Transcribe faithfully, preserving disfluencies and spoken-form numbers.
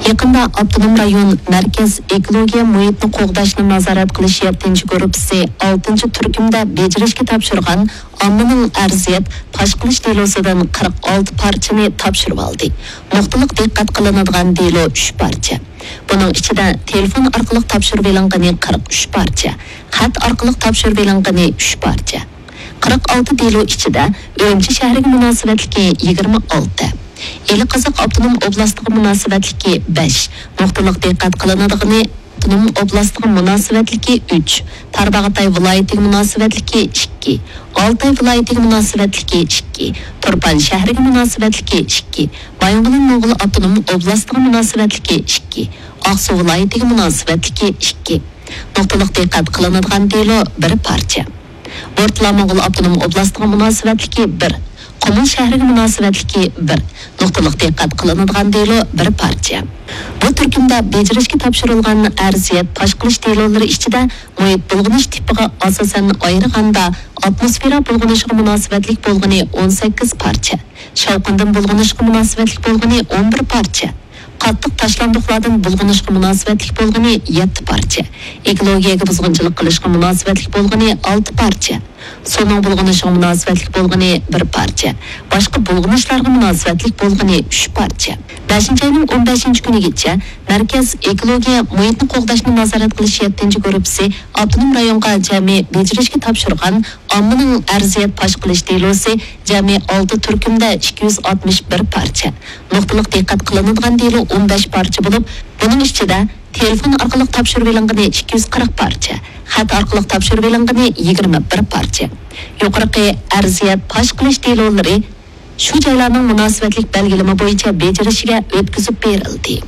يېقىندا ئاپتونوم رايون مەركەز ئېكولوگىيە مۇھىتنى قوغداشنى نازارەت قىلىش يەتتىنچى گۇرۇپپىسى ئالتىنچى تۈركۈمدە بېجىرىشكە تاپشۇرغان ئاممىنىڭ ئەرزىيەت پاش قىلىش دېلوسىدىن قىرىق ئالتە پارچىنى تاپشۇرۇۋالدى. نۇقتىلىق دىققەت قىلىنىدىغان دېلو ئۈچ پارچە. بۇنىڭ ئىچىدە تېلېفون ئارقىلىق تاپشۇرۇۋېلىنغىنى قىرىق ئۈچ پارچە، خەت ئارقىلىق تاپشۇرۇۋېلىنغىنى ئۈچ پارچە. قىرىق ئالتە دېلو ئىچىدە ئۈرۈمچى شەھىرىگە مۇناسىۋەتلىكى يىگىرمە ئالتە، ئىلى قازاق ئاپتونوم ئوبلاستىغا مۇناسىۋەتلىكى بەش، نۇقتىلىق دىققەت قىلىنىدىغىنى ئاپتونوم ئوبلاستىغا مۇناسىۋەتلىكى ئۈچ، تارباغاتاي ۋىلايىتىگە مۇناسىۋەتلىكى ئىككى، ئالتاي ۋىلايىتىگە مۇناسىۋەتلىكى ئىككى، تۇرپان شەھىرىگە مۇناسىۋەتلىكى ئىككى، بايىنغولىن موڭغۇل ئاپتونوم ئوبلاستىغا مۇناسىۋەتلىكى ئىككى، ئاقسۇ ۋىلايىتىگە مۇناسىۋەتلىكى ئىككى. نۇقتىلىق دىققەت قىلىنىدىغان دېلو بىر پارچە. ئورتىلا موڭغۇل ئاپتونوم ئوبلاستىغا مۇناسىۋەتلىكى بىر، قۇمۇل شەھىرىگە مۇناسىۋەتلىكى بىر، نۇقتىلىق دىققەت قىلىنىدىغان دېلو بىر پارچە. بۇ تۈركۈمدە بېجىرىشكە تاپشۇرۇلغان ئەرزىيەت پاش قىلىش دېلولىرى ئىچىدە مۇھىت بۇلغىنىش تىپىغا ئاساسەن ئايرىغاندا، ئاتموسفېرا بۇلغىنىشىغا مۇناسىۋەتلىك بولغىنى ئون سەككىز پارچە، شاۋقۇندىن بۇلغىنىشقا مۇناسىۋەتلىك بولغىنى ئون بىر پارچە، قاتتىق تاشلاندۇقلاردىن بۇلغىنىشقا مۇناسىۋەتلىك بولغىنى يەتتە پارچە، ئېكولوگىيەگە بۇزغۇنچىلىق قىلىشقا مۇناسىۋەتلىك بولغىنى ئالتە پارچە، سۇنىڭ بۇلغىنىشىغا مۇناسىۋەتلىك بولغىنى بىر پارچە، باشقا بۇلغىنىشلارغا مۇناسىۋەتلىك بولغىنى ئۈچ پارچە. بەشىنچى ئاينىڭ ئون بەشىنچى كۈنىگىچە مەركەز ئېكولوگىيە مۇھىتنى قوغداشنى نازارەت قىلىش يەتتىنچى گۇرۇپپىسى ئاپتونوم رايونغا جەمئىي بېجىرىشكە تاپشۇرغان ئاممىنىڭ ئەرزىيەت پاش قىلىش دېلوسى جەمئىي ئالتە تۈركۈمدە ئىككى يۈز ئاتمىش بىر پارچە، نۇقتىلىق دىققەت قىلىنىدىغان دېلو ئون بەش پارچە بولۇپ، بۇنىڭ ئىچىدە تېلېفون ئارقىلىق تاپشۇرۇۋېلىنغىنى ئىككى يۈز قىرىق پارچە، خەت ئارقىلىق تاپشۇرۇۋېلىنغىنى يىگىرمە بىر پارچە. يۇقىرىقى ئەرزىيەت پاش قىلىش دېلولىرى شۇ جايلارنىڭ مۇناسىۋەتلىك بەلگىلىمە بويىچە بېجىرىشىگە ئۆتكۈزۈپ بېرىلدى.